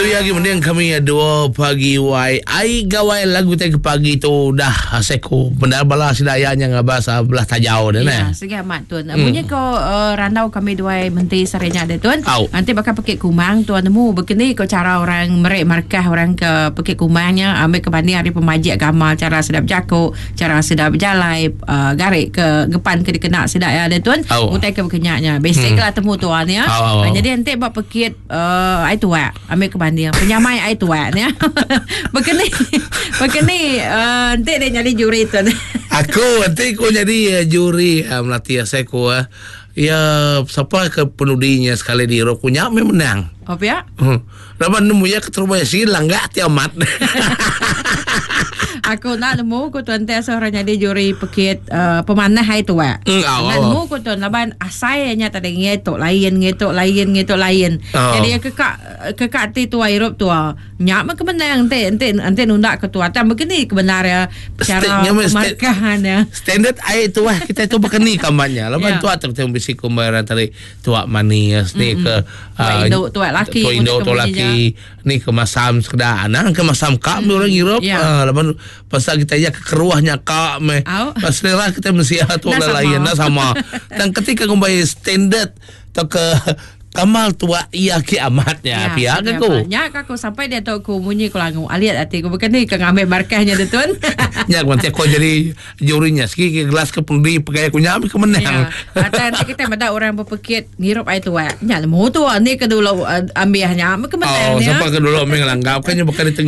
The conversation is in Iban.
Itu ya lagi mending kami dua pagi wai. Ai gawai lagu tai ke pagi tu dah seku bendar bala sida ya nya ngabas ah, belah tajau dia Ya, segi amat tuan. Hmm. Munyi ko randau kami duai menti sehari nya dia tuan. Au. Nanti bakal pekit kumang tuan nemu begini ko cara orang merik markah orang ke pekit kumangnya ambil ke banding ari pemajik agama cara sida bejaku, cara sida bejalai gari ke ngepan ke dikena sida ya dia tuan. Au. Utai ke bekenya nya. Basic lah temu tuan ya. Au, au, au. Jadi enti ba pekit ai tuak ambil ke banding penyamai ai tuak ni bekeni bekeni enti dia nyadi juri tu aku enti ku nyadi juri melatih asai ku iya sapa ke penudinya sekali diru ku nya meh menang. Oh pia? Laban nemu iya keterubah iya sigi langga ti amat. Aku enda nemu ku tuan ti asuh orang nyadi juri pekit uh, pemanah ai tuak. Mm, au, Enda au. nemu ku tuan laban asai nya tadi ngi tu lain ngi tu lain ngi tu lain. Oh. Jadi ke ka ke ka ti tua irup tua. Nya meh ke menang enti enti enti nunda ke tua tang begini ke benar iya State cara nya meh state- pemarkahan iya. Standard ai tuah kita tu baka ni kamat nya. Laban Ya. tuah tu kita bisi kumbai orang tadi tuak manis ni ke Tuak indu, tuak laki tuak indu mun tuak ke laki ni ke masam sekeda anang ke masam ka meh orang Europe Ya. ah, laban pasal kita iya ke keruh nya ka meh Au. Pas selera kita mensia tu Enda sama. lain enda sama tang ketika ngumbai standard tauka kamal tuak iya ke amat nya pia ke ku Nya ka aku sampai diatu aku munyi ku langu alit ati ku bukan ni ke ngambi markah nya tuan. Nya ku nanti aku jadi juri nya sigi ke gelas ke pendi pegai aku nya ke menang. Ya. Atau nanti kita meda orang berpekit ngirup air tuak. Nya nemu tu ni ke dulu ambih nya ke menang Oh, nya. siapa ke dulu ambil ngelanggap kan nya bukan ditengah.